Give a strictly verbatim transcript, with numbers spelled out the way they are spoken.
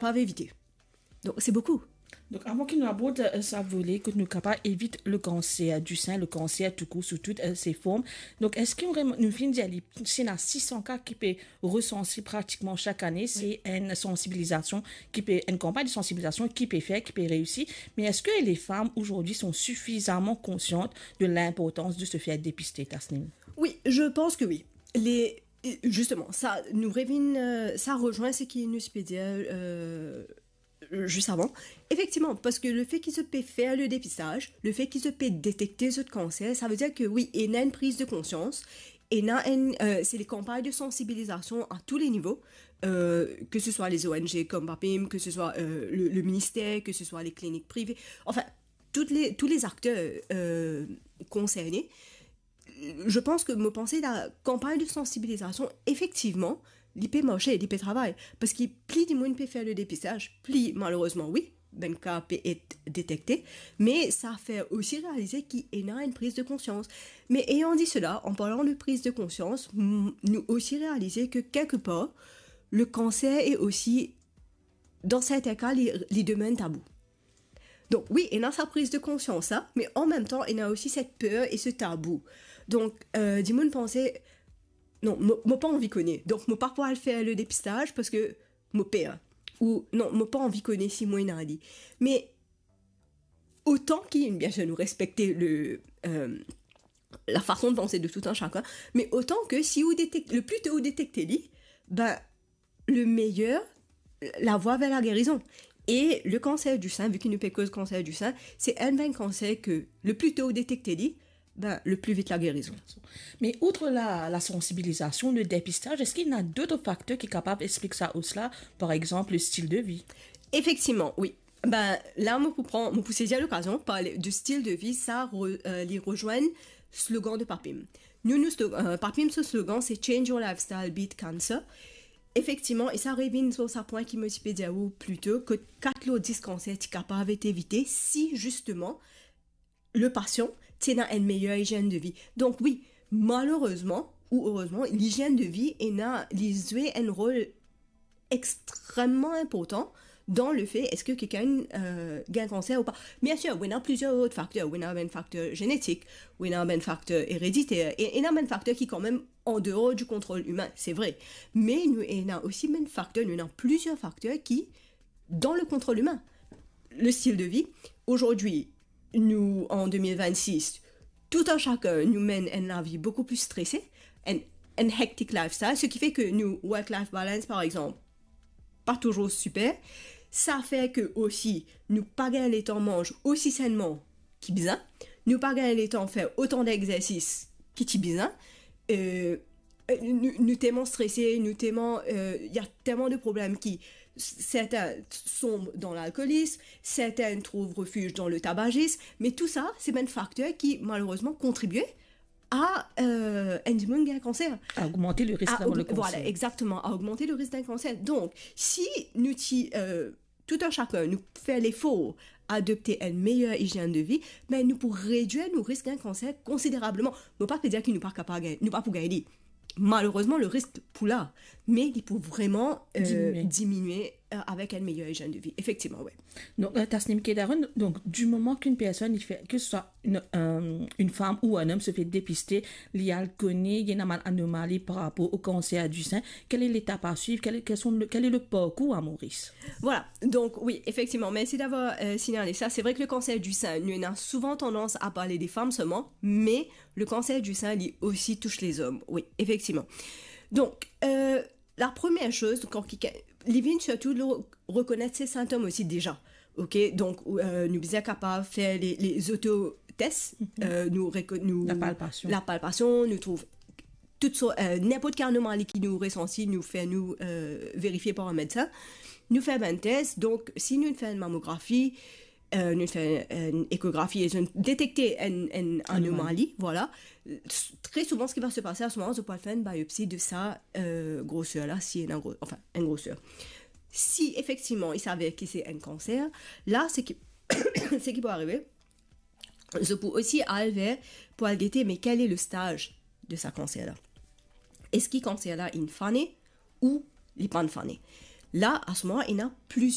pa evite. Donk, se boukou. Donk, avan ki nou abord, euh, sa vole, kot nou kapav evit le cancer du sein, le cancer tou kour, sou tout, euh, ses formes. Donk, eski nou rem-, nou finn dir li, si ena sis san ka ki pe resanse pratikman chak ane, se enn sansibilizasion ki pe, enn kanpagn de sansibilizasion ki pe fer, ki pe reisi. Me eski les femmes aujourd'hui sont suffisamment conscientes de l'importance de se faire dépister, Tasnim? Oui, je pense que oui. Les, justement, sa, nou revinn, euh, sa rezwenn seki nou ti pe dir, euh, zis avan. Efektivman, parski lefe ki zot pe fer le depistaj, lefe ki zot pe detekte zot kanser, savedir ke wi, ena enn priz de konsians, ena enn, euh, se les campagnes de sensibilisation à tous les niveaux, euh, que ce soit les O N G comme Papim, que ce soit, euh, le, le ministère, que ce soit les cliniques privées, enfin, toutes les, tous les acteurs, euh, concernés. Je pense que mo panse la campagne de sensibilisation, effectivement, li pe marse, li pe travay. Parski pli dimoun pe fer le depistaj, pli malerezman, wi, bann ka pe et detekte, me sa fer osi realize ki ena enn priz de konsians. Me ayant dit cela, en parlant de prise de conscience, m-, nou osi realize ke kelkepar, le cancer est aussi, dans certains cas, li, li demeure tabou. Donk, wi, ena sa priz de konsians la, me an mem tan, ena osi set per e se tabou. Donk, euh, dimoun panse, non, mo, mo pa anvi kone. Donk, mo pa pou al fer le depistaj parski mo per. Ou, non, mo pa anvi kone si mo ena li. Me otan ki, bien sir, nou respekte le, euh, la fason de panse de tout un chacun, me otan ke si ou detek-, le pli to ou detekte li, ben, le meyer, la voie vers la guérison. E le cancer du sein, vi ki nou pe koz cancer du sein, se enn bann kanser ke le pli to ou detekte li, ben, le pli vit la guérizon. Me outre la, la sensibilisation, le dépistage, est-ce qu'il y a d'autres facteurs ki kapav explik sa os la, par exemple, le style de vie? Effectivement, oui. Ben, la, mo pou pran, mo pou sezi lokazion, parle de style de vie, sa re-, euh, li rezwenn slogan de Papim. Nou, nou slo-, euh, Papim, so slogan, se Change your lifestyle, beat cancer. Efektivman, e sa revinn lor sa pwin ki mo ti pe dir ou pli to, ke kat lor dis kanser ti kapav et evite si, zisteman, le pasian ti ena enn meyer izienn de vi. Donk, wi, malerezman ou erezman, lizienn de vi ena, li zwe enn rol extrememan inportan dan lefe eski kikenn, euh, gagn kanser ou pa. Bien sir, ou ena plizier lot fakter. Ou ena bann fakter zenetik, ou ena bann fakter erediter, e ena bann fakter ki kanmem an deor di kontrol imin, se vre. Me nou ena osi bann fakter, nou ena plizier fakter ki dan le kontrol imin. Le stil de vi, azordi, nou, an de mil vennsis, tout un chacun, nou menn enn lavi boukou pli strese, enn, enn hectic lifestyle, seki fer ke nou work-life balance, par exanp, pa touzour siper. Sa fer ke osi, nou pa gagn letan manz osi sennman ki bizin. Nou pa gagn letan fer otan degzersis ki ti bizin. Euh, euh, nou, nou telman strese, nou telman, euh, il y a tellement de problèmes qui, certains tombent dans l'alcoolisme, certains trouvent refuge dans le tabagisme, mais tout ça, c'est bann fakter ki, malerezman, kontribie a, euh, enn dimoun gagn kanser. A ogmante le risk d'avoir le kanser. Voilà, exactement, a ogmante le risk d'un cancer. Donk, si nou ti, euh, tout un chacun, nou fer lefor adopte enn meyer izienn de vi, ben, nou pou redwir nou risk gagn kanser konsiderableman. Mo pa pe dir ki nou pa kapav gagn, nou pa pou gagn li. Malerezman, le risk pou la, me li pou vreman, euh, diminie, diminie, euh, avek enn meyer izienn de vi. Efektivman, wi. Donk, euh, Tasnim Kedaron, donk, di moman ki enn personn, li fer, ke se swa enn, euh, enn fam ou enn om se fer depister, li al kone, li ena bann anomali par rapor o kanser di sin, quelle est l'étape à suivre, quel est, quels sont le, quel est le parcours à Maurice? Voilà, donk, wi, efektivman, mersi d'avoir, euh, signalé ça. C'est vrai que le cancer du sein, nou ena souvan tandans a parle de fam selman, me le cancer du sein, li osi tous les hommes, wi, efektivman. Donk, euh, la première chose, kan kikenn, li vinn sirtou lor rekonet se sintom osi deza. Ok, donk, euh, nou bizin kapav fer le, le autotest, euh, nou reko-, nou, la palpasion, nou trouv tout sort, euh, ninport ki anomali ki nou resanti, nou fer nou, euh, verifie par enn medsin. Nou fer bann tes, donk, si nou fer enn mamografi, euh, nou fer enn ekografi e zot detekte enn, enn anomali, voilà. Tre souvan, seki va se pase a se moman, zot pou al fer enn biopsi de sa, euh, groser la, si ena gro-, enfin, enn groser. Si efektivman, i saver ki se enn kanser, la, seki, seki pou arive, zot pou osi al ver, pou al gete, me quel est le stage de sa kanser la? Eski kanser la inn fane ou li pa'nn fane? La, à ce moment, ena plizier